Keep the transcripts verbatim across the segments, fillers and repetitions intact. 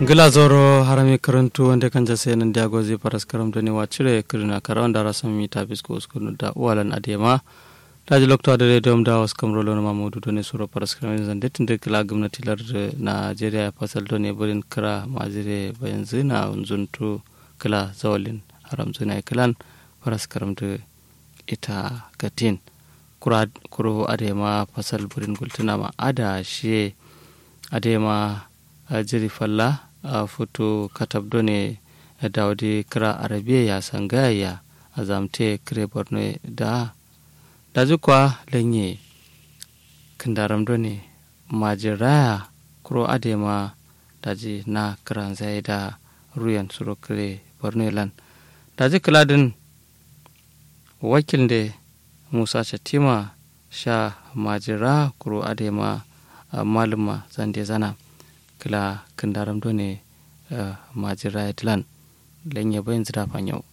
Ngla zauro harami kǝrǝntu wande kanja sai nandiya gozi faraskaram done wacire kǝrǝna karawan dara sammi ta fisko uskunu da uwalan adema. Daji loktu adǝ rediyom da waskam rolo nǝma maudu done suro faraskaram zande tǝndǝ kǝla gǝmnati lardǝ najeriya fasal done bǝrin kǝra majire bayanzǝ na nzuntu kǝla zawalin haramzǝ na ye kǝlan faraskaram dǝ ita gatin. Kuro adema fasal bǝrin gultǝna ma ada shiye adema jiri falla futu katab done dawudi kǝra arabiye ya sangaya ya azamte kǝre borno ye da. Daji kwa lanye kǝndaram done majiraya kuro adema daji na kǝranzaye da ruyen suro kǝre borno ye lan. Daji kǝladin wakilnde musa shatima sha majira kuro adema malumma zande zana kǝla kǝndaram done majira ye dǝlan. Lanye bayin zǝda fanyau.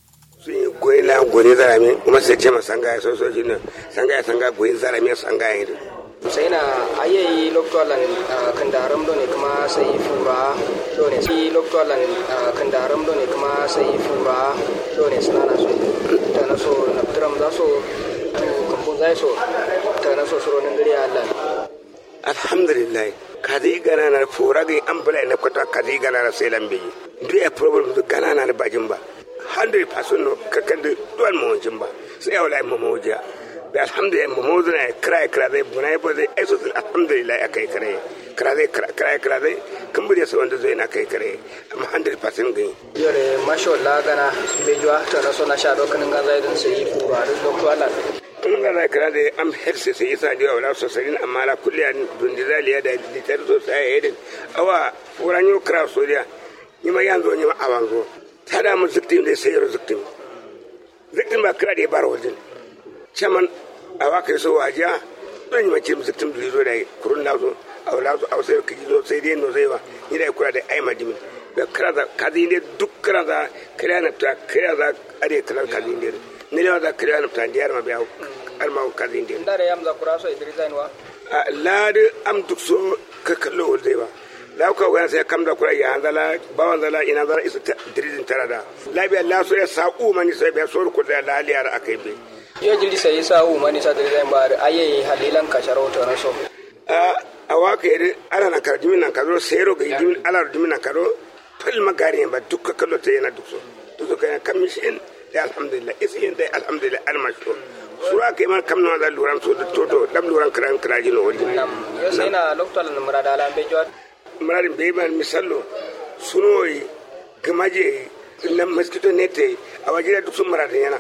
Goyi la goyi zarame kuma sai ce ma sanga ya soso jin sanga ya sanga goyi zarame sanga ya yi. Sai na ayyayi lokto lan kǝndaram done kuma sai fura done sai lokto lan kǝndaram done kuma sai fura done suna na so ta na so naftiram za so tu kambun za so ta na so suro nan gari ya lan. Alhamdulillah. Kazi gana na fura ga an bula na kwata kazi gana na sai lambe. Duk ya problem duk gana na bajin ba. Hundred percent no kakan da duwan mawajin ba. Sai ya wala mamawajiya. Bi alhamdulillah mamawajiya na kira kira zai buna ya zai aiso alhamdulillah ya kai kare. Kira zai kira kira zai kan bude sai wanda zai na kai kare. Amma hundred percent gani. Yore masho la gana bejuwa to na so na sha dokanin ganza idan sai yi kura duk lokto Allah. Tun ga zai kira da am herse sai isa diwa wala sosarin amma la kulliya dundi zaliya da litar so sai ya yi awa furan yo kira soriya. Ni ma yanzu ni ma awanzo ta da mun ziktin da sai yaro ziktin. Ziktin ba kira da ya bara wajen. Chaman awa kai so wajiya don ni ma cim ziktin duri zo da kurun na zo. Aula zo au sai kiji zo sai dai no zai wa ni da kura da ai madimin. Da kira za kazi ne duk kira za kira na ta kira za are kalan kazi ne. Ni da za kira na ta diyar ma biya alma kazi ne. Ndare yam za kura so idri zain wa. Ladi am duk so ka kallo wal zai ba. Lauka wayan sai kam da kura ya hanzala bawan zala ina zara isa dirizin tara da. Labiya la so ya sa'u mani sai biya so ko da la liyar akai be. Yo jiri sai sa'u mani sa dirizin ba ayi halilan ka sharo to na so. A waka yadda ala na kara dimin nan karo sai ro ga dimin ala dimin nan karo. Fal magari ba duk ka kallo ta yana duk so. Duk so kayan kan mishin da alhamdulillah isi yin da alhamdulillah almashi to. Sura kai man kam na da luran so da toto dam luran kiran kiraji no wani. Yo sai na lokto lan murada lan be jwa. Muradin be man misallo sunoyi gamaje na mosquito net a wajira duk sun muradin yana.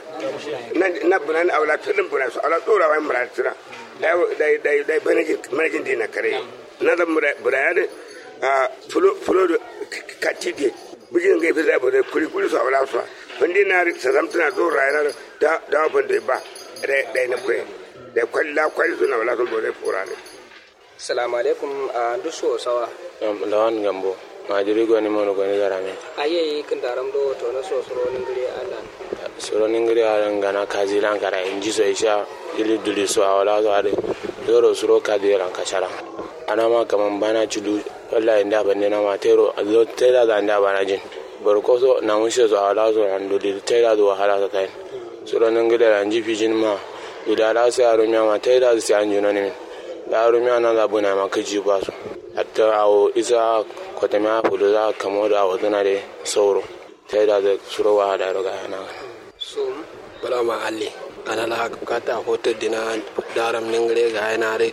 Na bunan awla filin bunan su awla tsora wani muradin suna. Dai dai manajin dina kare. Na da buraya da fulo da katide. Bijin ga fisa bore kuri kuri su awla su. Fandi na ri sasam tana zo rayana da da fando ba. Dai na kwe. Dai kwalla kwai suna wala sun bore fura ne. Salamu alaikum. A ndu so sawa. Lawan gambo. Majiri goni mono goni garame. Aye yi kindaram do to na so suro ningiri alan. Suro ningiri alan gana kazi lan kara inji so isha. Ili duli so awala so ade. Zoro suro kazi lan kashara. Ana ma kaman bana cidu. Wallahi nda bande na ma tero azo tera da nda bana jin. Borkoso na mushe so awala so an duli tera do wahala sa tain. Suro ningiri alan ji fijin ma. Duli ala sai aro miya ma tera sai an juno nimin. Da aro miya na da buna ma kiji baso. Hatta awo isa kotamiya fulu za kamo da awo zuna de sauro. Taida da suro wahala ro ga yana. Sum. Bala ma alli. Gana la kata hoto dina daram ningre ga yana re.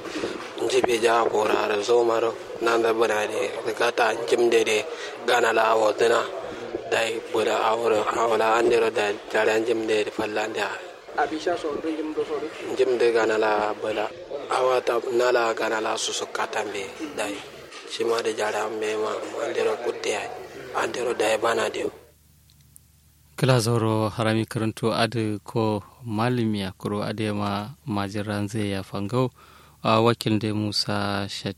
Nji be ja kora ra zo maro. Nan da bana de kata njim de de gana la awo zuna. Dai buna awro awla andero da tare njim de fallan da. Abisha so ndu njim do so du. Njim de gana la bala. Awata nala gana la susu katambe dai. Shima de jara mbe ma andero kutte ai. Andero dai bana de. Kla zauro harami karanto adi ko malimiya kuro ade ma majiranze ya fangau. A wakil de musa shat